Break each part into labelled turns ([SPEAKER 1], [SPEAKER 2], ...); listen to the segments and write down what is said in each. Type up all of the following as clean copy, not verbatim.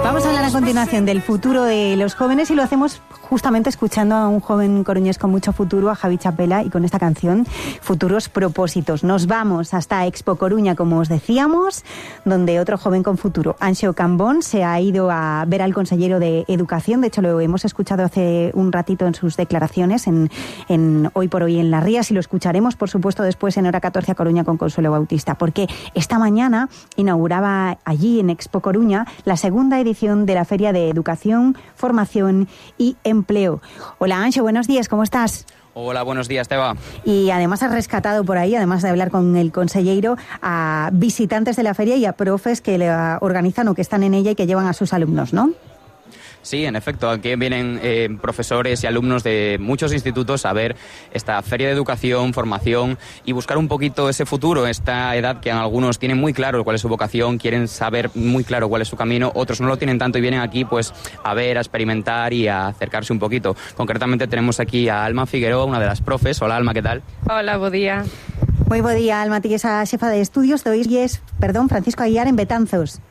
[SPEAKER 1] Vamos a hablar a continuación del futuro de los jóvenes y lo hacemos justamente escuchando a un joven coruñés con mucho futuro, a Javi Chapela, y con esta canción, Futuros Propósitos. Nos vamos hasta Expo Coruña, como os decíamos, donde otro joven con futuro, Anxo Cambón, se ha ido a ver al consejero de Educación. De hecho, lo hemos escuchado hace un ratito en sus declaraciones en Hoy por Hoy en Las Rías, y lo escucharemos, por supuesto, después en Hora 14 a Coruña con Consuelo Bautista, porque esta mañana inauguraba allí en Expo Coruña la segunda edición de la Feria de Educación, Formación y Empleo. Hola Anxo, buenos días, ¿cómo estás?
[SPEAKER 2] Hola, buenos días, Teba.
[SPEAKER 1] Y además has rescatado por ahí, además de hablar con el consejero, a visitantes de la feria y a profes que la organizan o que están en ella y que llevan a sus alumnos, ¿no?
[SPEAKER 2] Sí, en efecto, aquí vienen profesores y alumnos de muchos institutos a ver esta feria de educación, formación y buscar un poquito ese futuro, esta edad que algunos tienen muy claro cuál es su vocación, quieren saber muy claro cuál es su camino, otros no lo tienen tanto y vienen aquí pues a ver, a experimentar y a acercarse un poquito. Concretamente tenemos aquí a Alma Figueroa, una de las profes. Hola Alma, ¿qué tal?
[SPEAKER 3] Hola, bo día.
[SPEAKER 1] Moi bo día, Alma, ti esa xefa de estudios do IES, Francisco Aguiar en Betanzos.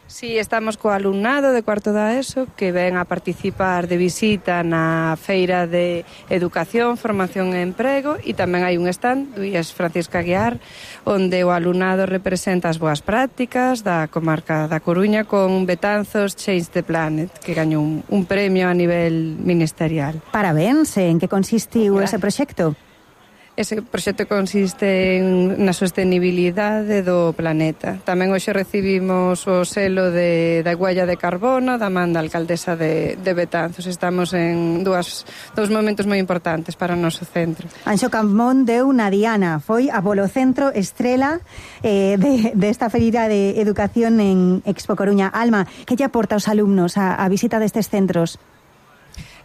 [SPEAKER 3] Sí, estamos co alumnado de cuarto da ESO que ven a participar de visita na Feira de Educación, Formación e Emprego, e tamén hai un stand do IES Francisco Aguiar onde o alumnado representa as boas prácticas da comarca da Coruña con Betanzos Change the Planet, que gañou un premio a nivel ministerial.
[SPEAKER 1] Parabéns, en que consistiu ese proxecto?
[SPEAKER 3] Ese proxecto consiste na sostenibilidade do planeta. Tamén hoxe recibimos o selo da huella de carbono da man da alcaldesa de Betanzos. Estamos en dous momentos moi importantes para o noso centro.
[SPEAKER 1] Anxo Cambón deu na diana, foi a polo centro estrela desta feira de educación en Expo Coruña. Alma, que lle aporta aos alumnos a visita destes centros?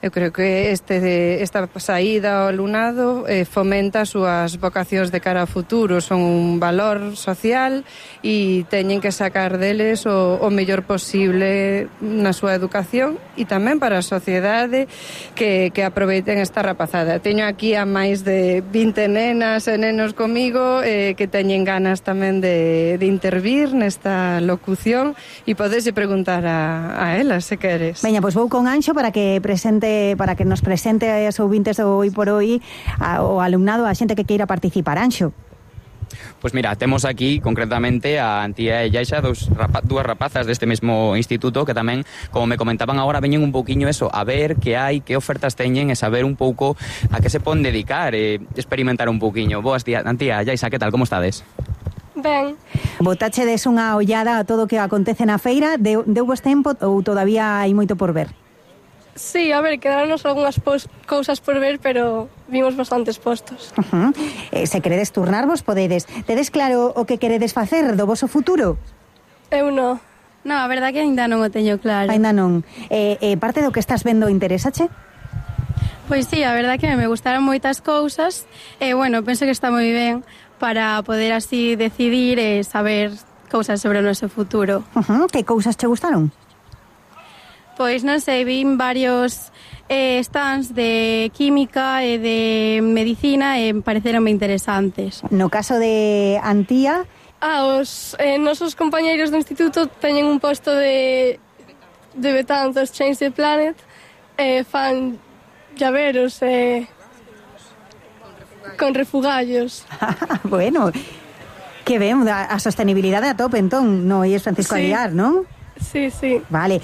[SPEAKER 3] Eu creo que esta saída ao alumnado fomenta as súas vocacións de cara ao futuro, son un valor social e teñen que sacar deles o mellor posible na súa educación e tamén para a sociedade que aproveiten esta rapazada. Teño aquí a máis de 20 nenas e nenos comigo que teñen ganas tamén de intervir nesta locución e podese preguntar a elas se queres.
[SPEAKER 1] Veña, pois vou con Anxo para que nos presente aos ouvintes do Hoy por Hoy ao alumnado, a xente que queira participar. Anxo.
[SPEAKER 2] Pues mira, temos aquí concretamente a Antía e Yaixa, dúas rapazas deste mesmo instituto que tamén, como me comentaban agora, veñen un pouquiño eso, a ver que hai, que ofertas teñen e saber un pouco a que se poden dedicar e experimentar un pouquiño. Boas días, Antía e Yaixa, que tal, como estades?
[SPEAKER 4] Ben.
[SPEAKER 1] Botachedes unha ollada a todo o que acontece na feira, deu vos tempo ou todavía hai moito por ver?
[SPEAKER 4] Sí, a ver, quedaronos algunhas cousas por ver, pero vimos bastantes postos.
[SPEAKER 1] Se queredes turnarvos, podedes. Tedes claro o que queredes facer do voso futuro?
[SPEAKER 4] Eu non.
[SPEAKER 5] No, a verdade que ainda non o teño claro.
[SPEAKER 1] Ainda non. Parte do que estás vendo interésache?
[SPEAKER 5] Pois sí, a verdade que me gustaron moitas cousas e, bueno, penso que está moi ben para poder así decidir e saber cousas sobre o noso futuro.
[SPEAKER 1] Que cousas che gustaron?
[SPEAKER 5] Pois non sei, vin varios stands de química e de medicina e pareceronme interesantes.
[SPEAKER 1] No caso de Antía...
[SPEAKER 4] Os nosos compañeiros do instituto teñen un posto de Betanzos Change the Planet e fan llaveros con refugallos.
[SPEAKER 1] Bueno, que ben, a sostenibilidade a tope entón, no IES Francisco Aguiar, non?
[SPEAKER 4] Sí, sí.
[SPEAKER 1] Vale,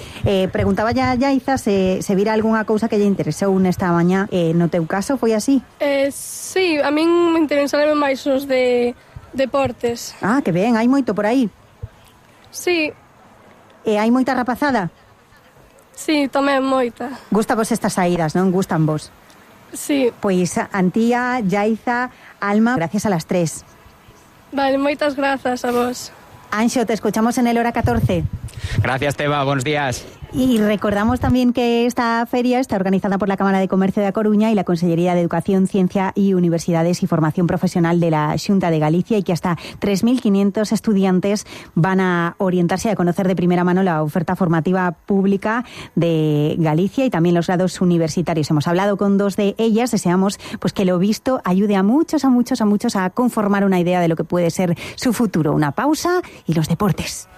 [SPEAKER 1] preguntaba ya Yaiza se vira algunha cousa que lle interesou nesta mañá. No teu caso foi así?
[SPEAKER 4] Sí, a min me interesaron máis os de deportes.
[SPEAKER 1] Ah, que ben, hai moito por aí.
[SPEAKER 4] Sí.
[SPEAKER 1] Hai moita rapazada?
[SPEAKER 4] Sí, tamén moita.
[SPEAKER 1] Gusta vos estas saídas, non? Gustan vos?
[SPEAKER 4] Sí.
[SPEAKER 1] Pois Antía, Yaiza, Alma, gracias a las tres.
[SPEAKER 4] Vale, moitas grazas a vos.
[SPEAKER 1] Anxo, te escuchamos en el Hora 14.
[SPEAKER 2] Gracias, Teba, buenos días.
[SPEAKER 1] Y recordamos también que esta feria está organizada por la Cámara de Comercio de A Coruña y la Consellería de Educación, Ciencia y Universidades y Formación Profesional de la Xunta de Galicia, y que hasta 3.500 estudiantes van a orientarse y a conocer de primera mano la oferta formativa pública de Galicia y también los grados universitarios. Hemos hablado con dos de ellas, deseamos pues que lo visto ayude a muchos a conformar una idea de lo que puede ser su futuro. Una pausa y los deportes.